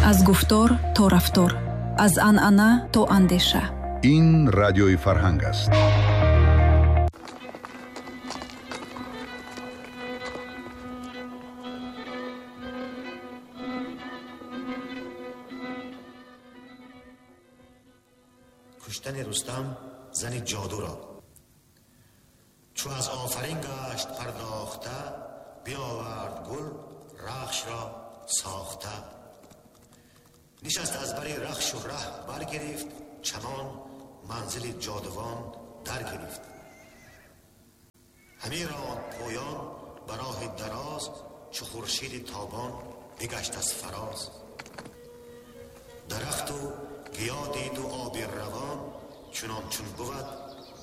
Аз гуфтор то рафтор, аз анъана то андеша. Ин радиои Фарҳанг аст. Куштани Рустам зани ҷодуро. Чу аз офарин гашт пардохта, биовард гул рахшро сохта. Нишаст аз бари рахшу раҳ баргирифт, чамон манзили ҷодувон даргирифт. Ҳамин ронд поён ба роҳи дароз, чу хуршиди тобон бигашт аз фароз. Дарахту гиё диду оби равон, чунон чун бувад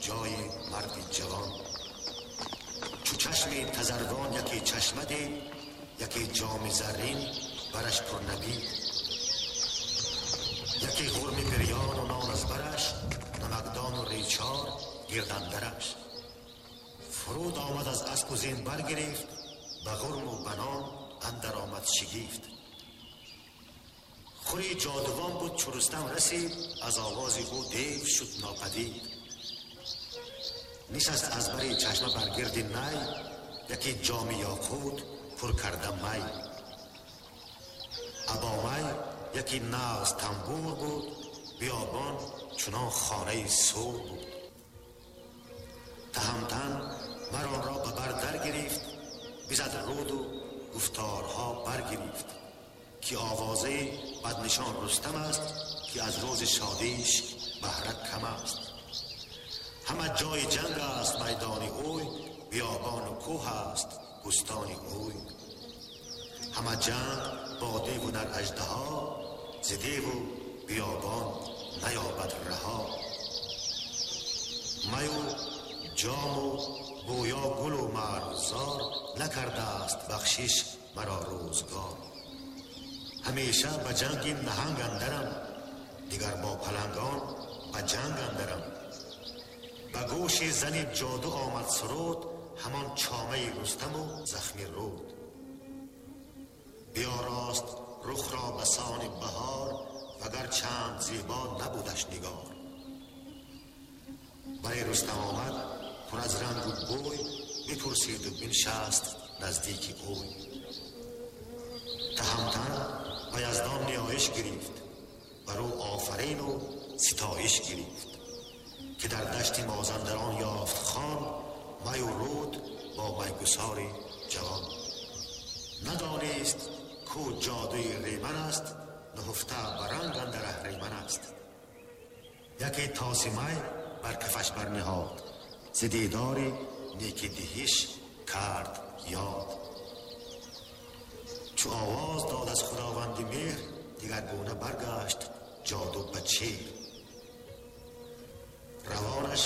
ҷои марди ҷавон. Чу чашми тазарвон яке чашма дид, яке ҷоми заррин бараш пурнабид. Яке ғурми бирёну нон аз бараш, намакдону речор гирдандараш. Фуруд омад аз аспу зин баргирифт, ба ғурму ба нон андар омад шигифт. Хури ҷодувон буд чу Рустам расид, аз овози ӯ дев шуд нопадид. Нишаст аз бари чашма бар гирди най, яке ҷоми ёқут пур карда май. Або май яке нағз тамбур буд, биёбон чунон хонаи сур буд. Таҳамтан мар онро ба бар дар гирифт, бизад руду гуфторҳо баргирифт, ки овозаи баднишон Рустам аст, ки аз рӯзи шодиш баҳра кам аст. Ҳама ҷои ҷанг аст майдони ӯй, биёбону кӯҳ аст бӯстони ӯй. Ҳама ҷанг бо деву нар аждаҳо, зи деву биёбон наёбад раҳо. Маю ҷому бӯё гулу марғзор накардааст бахшиш маро рӯзгор. Ҳамеша ба ҷанги наҳанг андарам, дигар бо палангон ба ҷанг андарам. Ба гӯши зани ҷоду омад суруд, ҳамон чомаи Рустаму захми руд. Биёрост рухро ба сони баҳор, вагар чанд зебо набудаш нигор. Барои Рустам омад пур аз рангу бӯй, бипурсиду биншаст наздики ӯй. Таҳамтан ба Яздон ниёиш гирифт, бар ӯ офарину ситоиш гирифт, ки дар дашти Мозандарон ёфт хон, маю руд бо майгусори ҷавон. Надонист ку ҷодуи риман аст, нуҳуфта ба ранг андар аҳриман аст. Яке тоси май бар кафаш барниҳод, зи дидори неки диҳиш кард ёд. Чу овоз дод аз худованди меҳр, дигаргуна баргашт ҷоду ба чеҳр. Равонаш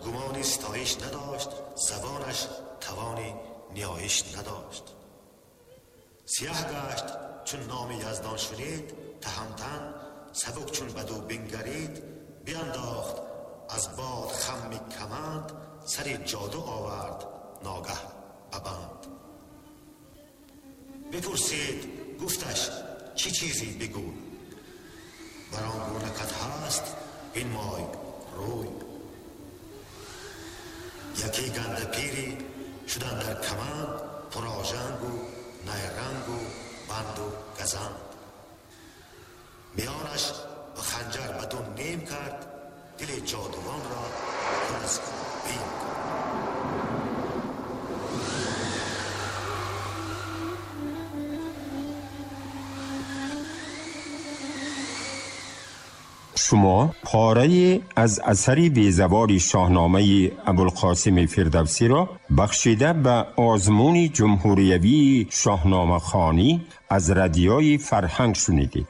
гумони ситоиш надошт, забонаш тавони ниёиш надошт. Сиёҳ гашт чун номи Яздон шунид, таҳамтан сабук чун баду бингарид, биандохт аз бод хамми каманд, сари ҷоду овард ногаҳ ба банд. Бипурсид гуфташ чӣ чизе бигӯй, бар он гуна кат ҳаст бинмой рӯй. Яке ганда пире шудан дар каманд, пурожангу найрангу банду газанд. Миёнаш ба ханҷар ба ду ним кард, дили ҷодувонро пур аз бим кард. Шумо порае аз асари безаволи шоҳномаи Абулқосими Фирдавсиро бахшида ба озмуни ҷумҳуриявии шоҳномахонӣ аз радиои Фарҳанг шунидед.